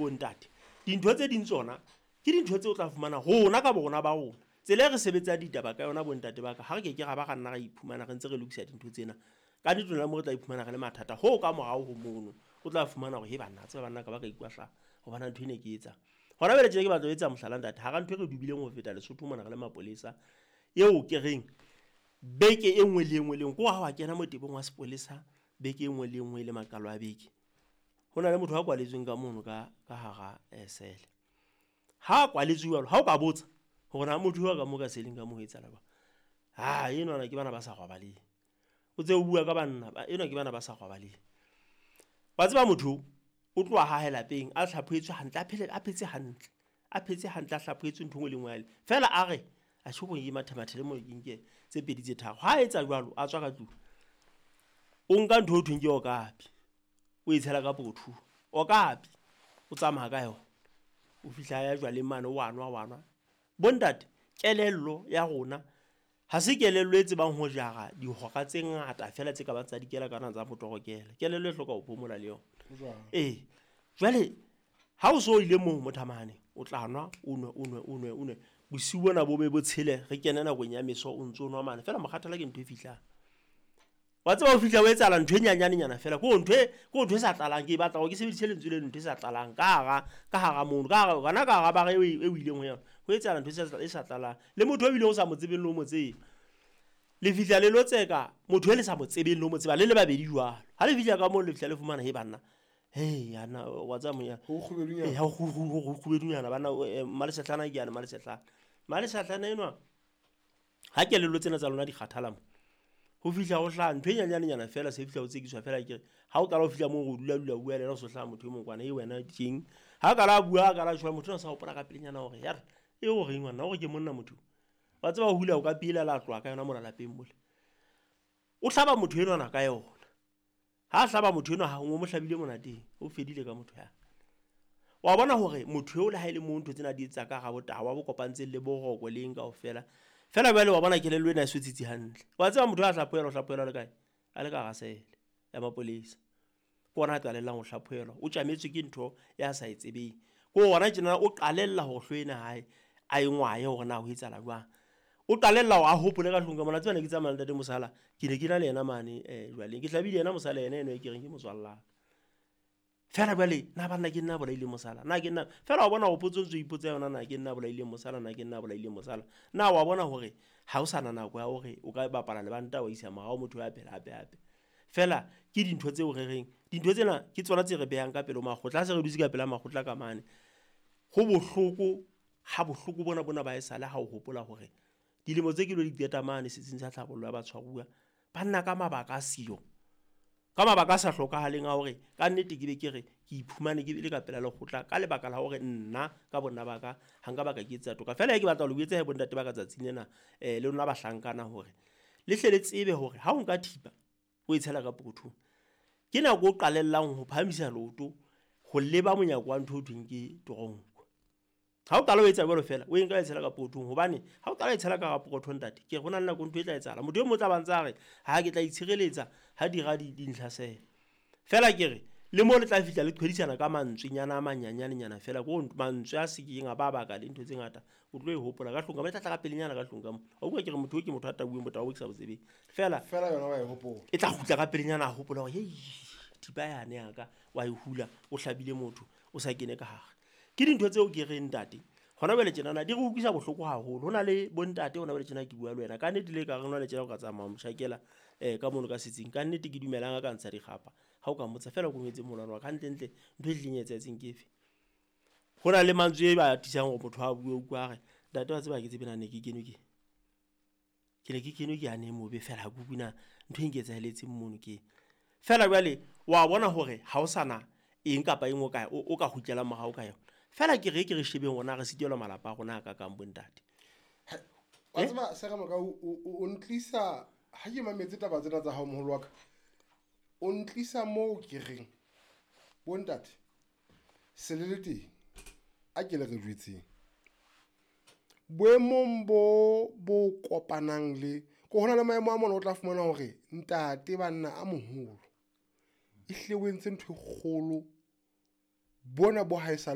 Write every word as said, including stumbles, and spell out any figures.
bontate, dintho tse ding tsona ke dintho tseo o tla fumana rona ka borona ba rona. Tsela e re sebetsang ditaba ka yona bontate ba ka, ha re ke ke ra ba ra nna ra iphumana re ntse re lokisa dintho tsena. Ka nnete lona mo re tla iphumana re le mathata hoo ka morao ho mono. O tla fumana hore he banna, tseba banna ka ba ka ikwahlaya hobane ntho ena ke e etsang. Hona jwale tjena ke batla ho etsa mohlala ntate, hara ntho e re dubileng ho feta Lesotho mona re le mapolesa, eo ke reng beke e nngwe le e nngwe le e nngwe, ke hore ha wa kena motebong wa sepolesa beke e nngwe le e nngwe e le maqalo a beke. Ho na le motho a kwaletsweng ka mono ka ka hara sele. Ha kwaletswe jwalo, ha o ka botsa hore na motho wa ka mo ka seleng ka moo ho etsahala jwang. Ha enwana ke bana ba sa robaleng. O tse o bua ka banna ba enwa ke bana ba sa robaleng. Wa tseba motho o tloha ha hae lapeng a hlaphohetswe hantle, a phele a phetse hantle, a phetse hantle, a hlaphohetswe ntho e nngwe le e nngwe ya le. Feela a re atjhe ko ke mathemathele moo ke nke tse pedi tse tharo. Ha etsa jwalo, a tswa ka tlung. O nka ntho eo thweng ke okapi, o e tshela ka pokothong. Okapi o tsamaya ka yona. O fihla ya jwaleng mane wa nwa wa nwa. Bontate, kelello ya rona ha se kelello e tsebang ho jara dihora tse ngata feela tse ka bang tsa dikela kana tsa motorokela. Kelello e hloka ho phomola le yona. Ee, jwale ha o so ile moo mothamahane, o tla nwa, o nwe, o nwe, o nwe, o nwe. Bosiu bona bo be bo tshele, re kene nakong ya meso o ntso nwa mane. Feela mokgathala ke ntho e fihlang. Wa tseba ho fihla o etsahala ntho e nyanyanenyana feela. Ke ntho e, ke ntho e sa tlalang, ke batla hore ke sebedise lentswe leno, ntho e sa tlalang ka hara, ka hara mono, ka hara hona ka hara bara eo e o ileng ho yona. Ho etsahala ntho e sa tlalang. Le motho o bileng o sa mo tsebeng le ho mo tseba. Le fihla le lo tseka motho e le sa mo tsebeng le ho mo tseba le le babedi jwalo. Ha le fihla ka moo le fihla le fumana he banna. Hey ana wa tseba moya. Ho kgubedunyana. Eh ha ho ho kgubedunyana bana Mmalesehlana ke yana Mmalesehlana. Mmalesehlana enwa ha kelello tsena tsa lona di kgathala mo. Ho fihla ho hlaha ntho e nyanyanenyana feela se fihla ho tsekiswa feela ke re ha o qala ho fihla moo o dula dula bua le yena o so hlaha motho e mong kwana e wena tjeng. Ha qala a bua a qala tjho motho o sa hopola ka pelenyana hore ya re e o reng ngwana hore ke monna motho. Wa tseba ho hula o ka pila la tloha ka yona mona lapeng mole. O hlaba motho enwana ka yona. Ha hlaba motho enwa ha o mo hlabile monateng, o fedile ka motho ya. Wa bona hore motho eo le ha ile mo ntho tsena di etsa ka ga botawa bo kopantseng le boroko le eng kaofela. Feela jwale wa bona kelello ena e so tsitsi hantle. Wa tseba motho a hlaphohelwa, o hlaphohelwa le kae? A le ka hara sele ya mapolesa. Ke ona a qalellang ho hlaphohelwa. O tjametswe ke ntho ya sa e tsebeng. Ke hona tjena o qalella hore hlooho ena hae a e ngwaye hore na ho etsahala jwang. O qalella hore a hopole ka hlong ka mona. Tseba ne ke tsamaya le ntate Mosala, ke ne ke na le yena mane eh jwaleng. Ke hlabile yena Mosala yena eno e ke reng ke motswalla. Feela jwale na banna ke nna bolaile Mosala, na ke nna feela wa bona ho potso ntso ipotsa yona na ke nna bolaile Mosala, na ke nna bolaile Mosala. Na wa bona hore ha o sana nako ya hore o ka bapala lebanta wa isa morao motho ya phela hape hape. Feela ke dintho tseo re reng dintho tsena ke tsona tse re behang ka pele ho makgotla. Ha se re dutse ka pela makgotla ka mane, ho bohloko ha bohloko bona bona ba esale ha o hopola hore dilemo tse ke lo di qeta mane setsing sa tlhabollo ya batshwaruwa ba nna ka mabaka a siyo, ka mabaka a sa hlokahaleng a hore ka nnete ke be ke re ke iphumane ke le ka pela lekgotla ka lebaka la hore nna ka bonna ba ka ha nka baka ke etsa toka. Feela ke batla ho le botsa he bontate ba ka tsatsing lena eh le lona bahlankana hore le hle le tsebe hore ha o nka thipa o e tshela ka pokothong, ke nako o qalellang ho phahamisa leoto ho leba monyako wa ntho o thweng ke toronko. Ha o qala o etsa jwalo feela, o e nka e tshela ka pokothong, hobane ha o qala e tshela ka pokothong ntate, ke re ho na le nako ntho e tla etsahala. Motho e mong o tla ba ntse a re ha ke tla itshireletsa ha dira di dintlhasela. Feela ke re le mo le tla fihla le qhwedisana ka mantswenyana a manyanyanenyana feela, ko mantswe a se keng a ba baka le ntho tse ngata. O tlo e hopola ka hlong ka mo, e tla tla ka pelenyana ka hlong ka mo. Wa utlwa ke re motho o ke motho a tauweng botau bo ke sa bo tsebeng. Feela feela yona wa e hopola. E tla kgutla ka pelenyana a hopola hore hei thipa yane ya ka wa e hula, o hlabile motho o sa kene ka hare. Ke dintho tseo ke reng ntate hona jwale tjenana di re utlwisa bohloko haholo. Ho na le bontate hona jwale tjena ke bua le wena ka nnete, le ka re hona le tjena o ka tsamaya moshakela eh ka mono ka setsing, ka nnete ke dumelang a ka ntsha dikgapa ha o ka mmotsa feela ko ngwetse molwana wa ka hantle-ntle ntho e tlileng e etsahetseng ke efe. Ho na le mantswe e ba atisang hore motho a bue, o utlwa a re ntate wa tseba ke tsebe na ne ke kenwe ke ke ne ke kenwe ke yane mobe feela ha ke utlwe na ntho e nketsaheletseng mono ke. Feela jwale wa bona hore ha o sana eng kapa eng o ka o ka kgutlelang morao ka yona. Feela ke re ke re shebeng rona re sitelwa malapa a rona a ka kang bontate. Wa tseba Sera Moka, o ntlisa ha ke mametse taba tsena tsa hao moholo wa ka, o ntlisa moo ke reng bontate se le le teng a ke le re jwetseng boemong bo bo kopanang le ko hona le maemo a mona o tla fumana hore ntate banna a moholo e hle o entse ntho e kgolo bona bo ha e sa